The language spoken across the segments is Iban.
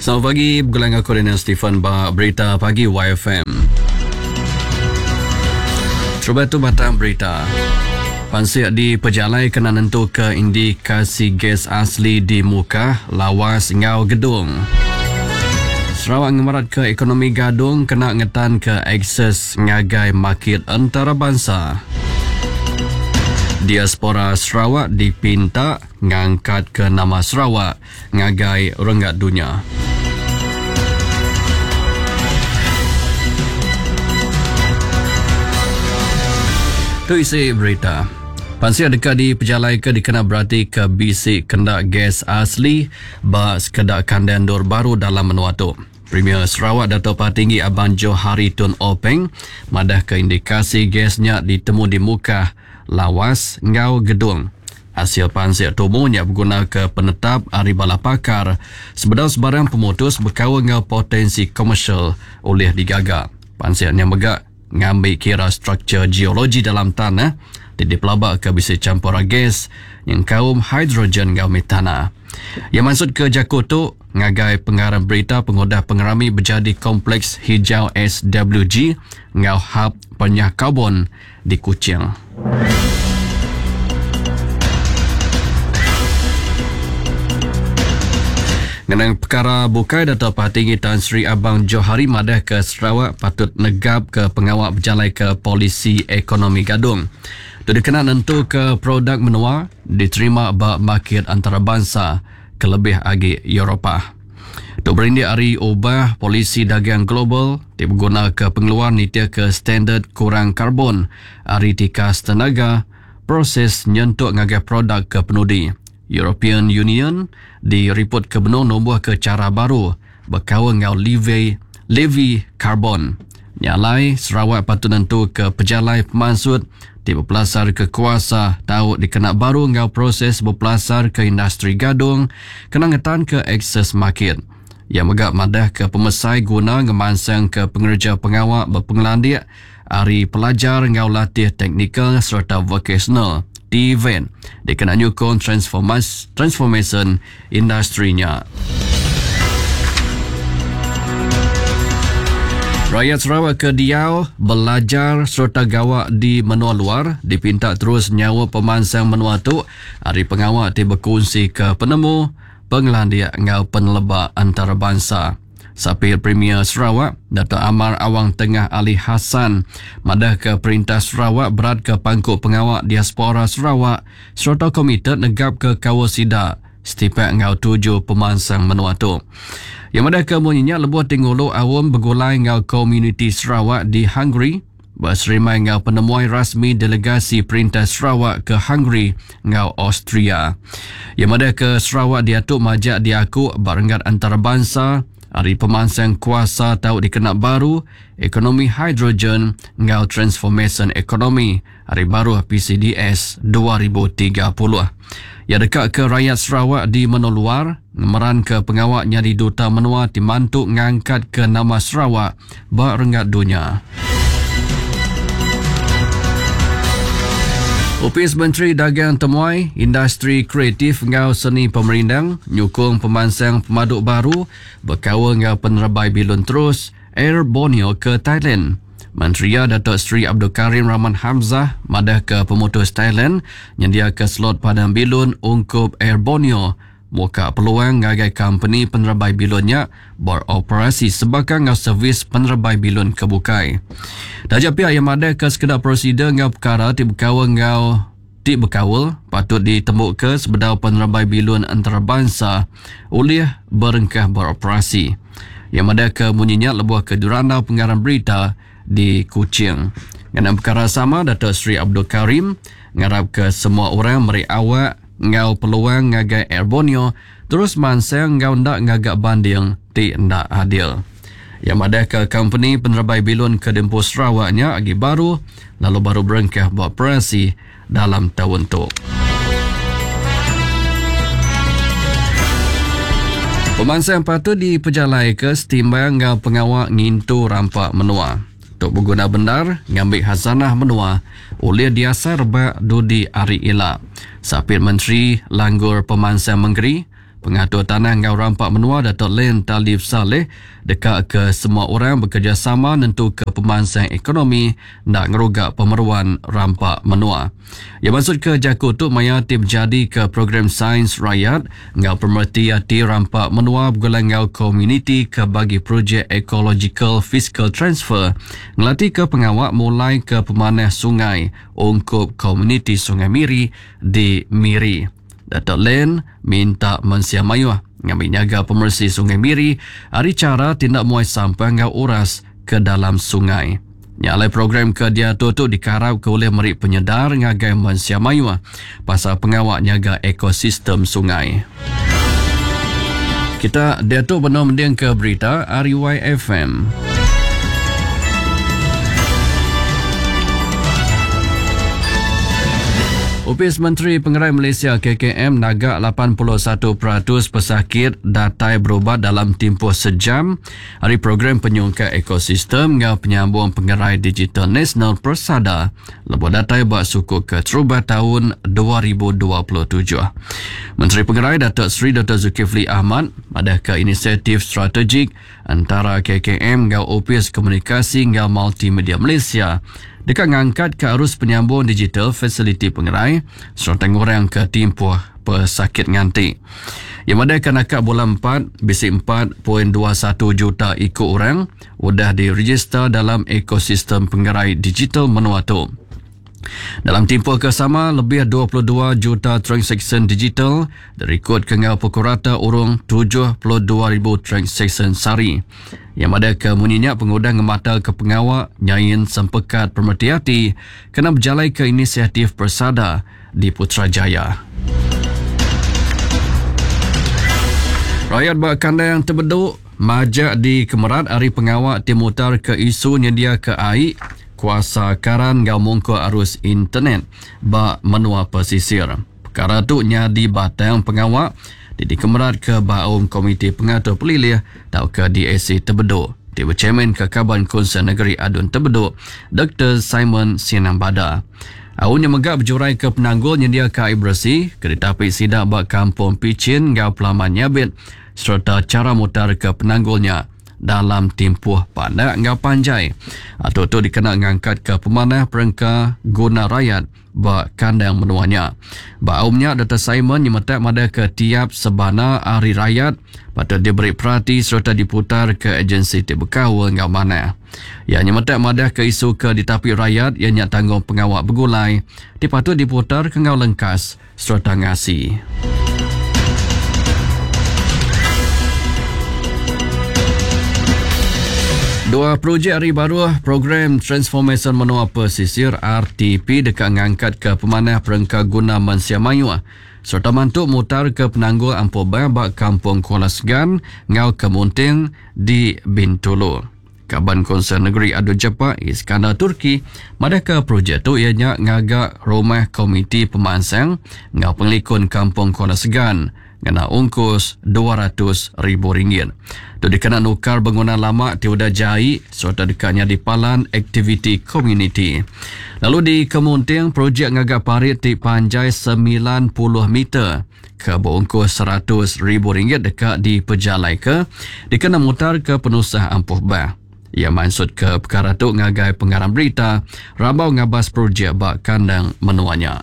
Selamat pagi begulai enggau aku Daniel Stephen ba Berita Pagi YFM. Terubah tu batang berita. Pansik di pejalai kena nentuka indikasi gas asli di Mukah, Lawas enggau Gedong. Sarawak ngemeratka ekonomi gadung kena ngetanka akses ngagai makit entarabansa. Diaspora Sarawak dipinta ngangkatka nama Sarawak ngagai renggat dunya. Tu isi berita. Pansik deka dipejalaika dikena beratika bisi kenda gas asli ba sekeda kandang endur baru dalam menua tu. Premier Sarawak Datuk Patinggi Abang Johari Tun Openg madahka indikasi gas nya ditemu di Mukah, Lawas enggau Gedong. Asil pansik tumu nya begunaka penetap ari bala pakar sebedau sebarang pemutus bekaul enggau potensi komersial ulih digaga. Pansik nya mega ngambi kira struktur geologi dalam tanah ti dipelabaka bisi champura gas nyengkaum hidrogen enggau metana. Iya mansutka jaku tu ngagai pengarang berita pengudah pengerami bejadi Kompleks Hijau SWG enggau Hab Penyah Karbon di Kuching. Ngenang pekara bukai Dato Patinggi Tan Sri Abang Johari madah ke Sarawak patut negap ke pengawa bejalaika polisi ekonomi gadung. Tu dikena nentuka produk menua diterima ba makit antarabansa kelebih agi Eropah. Tu berindik ari ubah polisi dagang global ti begunaka pengeluar nitihka standard kurang karbon ari tikas tenaga proses nyentuk ngagai produk ke penudi. European Union diripotka benung numbuhka chara baru bekaul enggau levy levy karbon. Nya alai, Sarawak patut nentuka pejalai pemansut ti bepelasarka kuasa tau dikena baru enggau proses bepelasarka industri gadung kena ngetanka akses makit. Iya mega madahka pemesai guna ngemansangka pengereja pengawa bepengelandik ari pelajar enggau latih teknikal sereta vokasional, TVET, dikena nyukung transformasyen industri nya. Rakyat Sarawak ke diau, belajar sereta gawa di menua luar dipinta terus nyaup pemansang menua tu ari pengawa ti bekunsika penemu, pengelandik enggau peneleba antarabansa. Sapir Premier Sarawak, Datuk Amar Awang Tengah Ali Hassan madahka Perintah Sarawak beratka pangku pengawa diaspora Sarawak sereta komited negapka kaul sida setipak enggau tuju pemansang menua tu. Iya madahka munyi nya lebuh ti ngulu aum begulai enggau komuniti Sarawak di Hungary beserimbai enggau penemuai rasmi delegasi Perintah Sarawak ke Hungary enggau Austria. Iya madahka Sarawak diatu majak diaku ba renggat antarabansa ari pemansang kuasa tau dikena baru, ekonomi hidrogen enggau transformasyen ekonomi ari baruh PCDS 2030. Iya deka ke rayat Sarawak di menua luar ngemeranka pengawa nyadi duta menua ti mantu ngangkatka nama Sarawak ba renggat dunya. Opis Menteri Dagang Temuai, Industri Kreatif enggau Seni Pemerindang nyukung pemansang pemadu baru bekaul enggau penerebai bilun terus Air Borneo ke Thailand. Menteri iya Datuk Seri Abdul Karim Rahman Hamzah madahka pemutus Thailand nyendiaka slot padang bilun ungkup Air Borneo muka peluang ngagai kompeni penerebai bilun nya beroperasi sebaka enggau servis penerebai bilun ke bukai. Taja pia iya madahka sekeda prosedur enggau pekara ti bekaul enggau ti bekaul patut ditembuka sebedau penerebai bilun entarabansa ulih berengkah beroperasi. Iya madahka munyi nya lebuh ke dirandau pengarang berita di Kuching. Ngenang pekara sama, Datuk Seri Abdul Karim ngarapka semua orang meri awak enggau peluang ngagai Air Borneo terus mansang enggau enda ngaga banding ti enda adil. Iya madahka kompeni penerebai bilun ke diempu Sarawak nya agi baru lalu baru berengkah beoperasi dalam taun tu. Pemansang patut dipejalaika setimbang enggau pengawa ngintu rampa menua. Tu beguna bendar ngambi khazanah menua ulih diasai rebak dudi hari ila. Sapit Menteri Langgur Pemansang Mengeri, Pengatur Tanah enggau Rampa Menua Datuk Len Talif Salleh deka ke semua orang bekerejasama nentuka pemansang ekonomi enda ngeruga pemeruan rampa menua. Iya mansutka jaku tu maya ti bejadika Program Sains Rayat enggau Pemereti Ati Rampa Menua begulai enggau Komuniti ke bagi Projek Ecological Fiscal Transfer ngelatika pengawa mulaika pemanah sungai ungkup komuniti Sungai Miri di Miri. Datuk Len minta mensia mayuh ngambi nyaga pemeresi Sungai Miri ari chara ti enda muai sampah enggau uras ke dalam sungai. Nya alai program ke diatur tu dikarapka ulih meri penyedar ngagai mensia mayuh pasal pengawa nyaga ekosistem sungai. Kita diatu benung mendingka berita ari YFM. Opis Menteri Pengerai Malaysia KKM naga 81% pesakit datai berubat dalam timpuh sejam ari program penyungkak ekosistem enggau penyambung pengerai digital nasional Persada lebuh datai ba suku keterubah taun 2027. Menteri Pengerai Datuk Seri Dr Zulkifli Ahmad madahka inisiatif strategik entara KKM enggau Opis Komunikasi enggau Multimedia Malaysia deka ngangkatka arus penyambung digital fasiliti pengerai sereta ngurangka timpuh pesakit nganti. Iya madahka naka bulan empat bisi 4.21 juta iku orang udah direjista dalam ekosistem pengerai digital menua tu. Dalam timpuh ke sama, lebih 22 juta transaksyen digital dirikodka enggau pukul rata urung 72,000 transaksyen sehari. Iya madahka munyi nya pengudah ngemataka pengawa nyain sempekat pemereti ati kena bejalaika inisiatif Persada di Putrajaya. Rayat ba kandang Tebedu majak dikemerat ari pengawa ti mutarka isu nyendiaka ai, kuasa karan enggau mungkur arus internet ba menua pesisir. Pekara tu nyadi batang pengawa ti dikemeratka ba Aum Komiti Pengatur Pelilih tauka DAC Tebedu ti bechairmanka Kaban Kunsil Negeri Adun Tebedu Doktor Simon Sinang Bada. Aum nya mega bejuraika penanggul nyendiaka ai beresi ke ditapi sida ba Kampung Pichin enggau Pelaman Nyabit sereta chara mutarka penanggul nya dalam timpuh pandak enggau panjai. Atur tu dikena ngangkatka pemanah perengka guna rayat ba kandang menua nya. Ba aum nya, Doktor Simon nyemetak madahka tiap sebana ari rayat patut diberi perati sereta diputarka agensi ti bekaul enggau manah. Iya nyemetak madahka isu ke ditapi rayat iya nya tanggungpengawa begulai ti patut diputarka enggau lengkas sereta ngasi. Dua projek ari baruh Program Transformasyen Menua Pesisir, RTP, deka ngangkatka pemanah perengka guna mensia mayuh sereta mantu mutarka penanggul ampuh bah ba Kampung Kuala Segan enggau Kemunting di Bintulu. Kaban Kunsil Negeri Adun Jepak, Iskandar Turki, madahka projek tu iya nya ngaga Rumah Komiti Pemansang enggau Pengelikun Kampung Kuala Segan ngena ungkus 200 ribu ringgit. Tu dikena nukar bangunan lama ti udah jai sereta deka nyadi palan aktiviti komuniti. Lalu di Kemunting, projek ngaga parit ti panjai 90 meter ke beungkus 100 ribu ringgit deka dipejalaika dikena mutarka penusah ampuh bah. Iya mansutka pekara tu ngagai pengarang berita rambau ngabas projek ba kandang menua nya.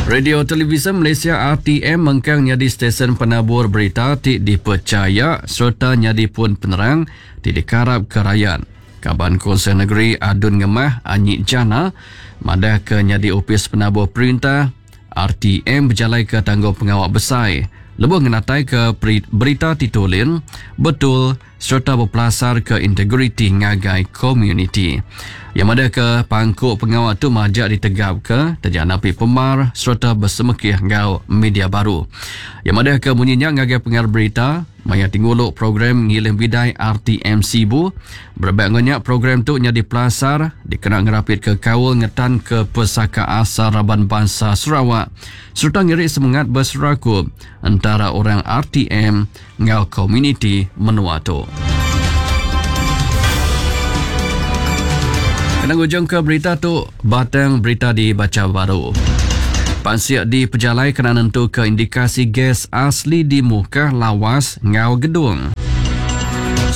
Radio Televisyen Malaysia RTM mengkang nyadi stesen penabur berita ti dipercaya sereta nyadi pun penerang ti dikarapka rayat. Kaban Kunsil Negeri Adun Ngemah Anyi Jana madahka nyadi opis penabur perintah RTM bejalaika tanggung pengawa besai lebuh ngenataika berita ti tulin, betul sereta bepelasarka integriti ngagai komuniti. Iya madahka pangku pengawa tu majak ditegapka taja napi pemar sereta besemekih enggau media baru. Iya madahka munyi nya ngagai pengarang berita maya ti ngulu program Ngiling Bidai RTM Sibu. Berebak enggau nya, program tu nyadi pelasar dikena ngerapitka kaul ngetanka pesaka asal raban bansa Sarawak sereta ngiri semengat beserakup entara orang RTM enggau komuniti menua tu. Kena ngujungka berita tu, batang berita dibacha baru. Pansik dipejalai kena nentuka indikasi gas asli di Mukah, Lawas enggau Gedong.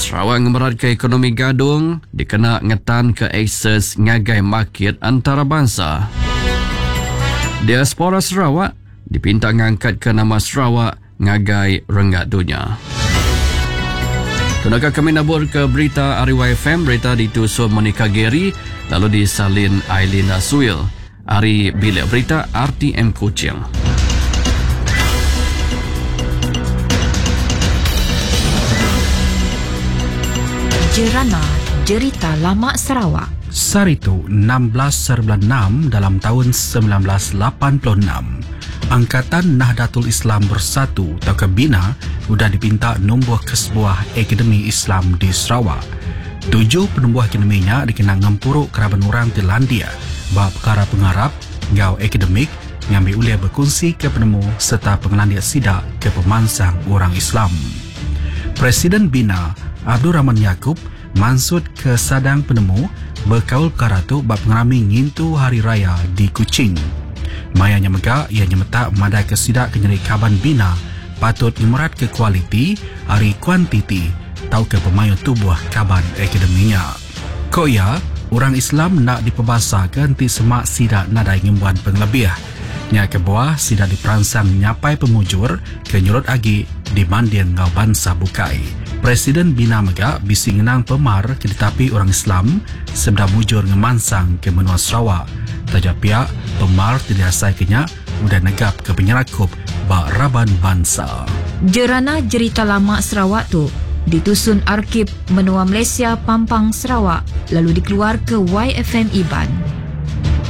Sarawak ngemeratka ekonomi gadung dikena ngetanka akses ngagai makit antarabansa. Diaspora Sarawak dipinta ngangkatka nama Sarawak ngagai renggat dunya. Tunaka kami nabur ke berita ari YFM, berita ditusun Monica Gary lalu disalin Eileen Suil ari Bilik Berita RTM Kuching. Jerana Jerita Lama Sarawak. Sehari tu, 16 saribulan enam dalam taun 1986, Angkatan Nahdlatul Islam Bersatu tauka Bina udah dipinta numbuhka sebuah Akademi Islam di Sarawak. Tuju penumbuh akademi nya dikena ngempuru keraban orang ti landik ba pekara pengarap enggau akademik ngambi ulih bekunsika penemu sereta pengelandik sida ke pemansang orang Islam. Presiden Bina, Abdul Rahman Yaakob mansutka sadang penemu bekaul pekara tu ba pengerami ngintu Hari Raya di Kuching. Maya nya mega iya nyemetak madahka sida ke nyadi kaban Bina patut ngemeratka kualiti ari kuantiti tauka pemayuh tubuh kaban akademi nya. Ku iya, orang Islam enda dipebasaka enti sema sida nadai ngembuan pengelebih. Nya kebuah sida diperansang nyapai pemujur ke nyurut agi dibanding enggau bansa bukai. Presiden Bina mega bisi ngenang pemar ke ditapi orang Islam sebedau mujur ngemansangka menua Sarawak. Taja pia, pemar ti diasaika nya udah negapka penyerakup ba raban bansa. Jerana Jerita Lama Sarawak tu ditusun Arkib Menua Malaysia Pampang Sarawak lalu dikeluarka YFM Iban.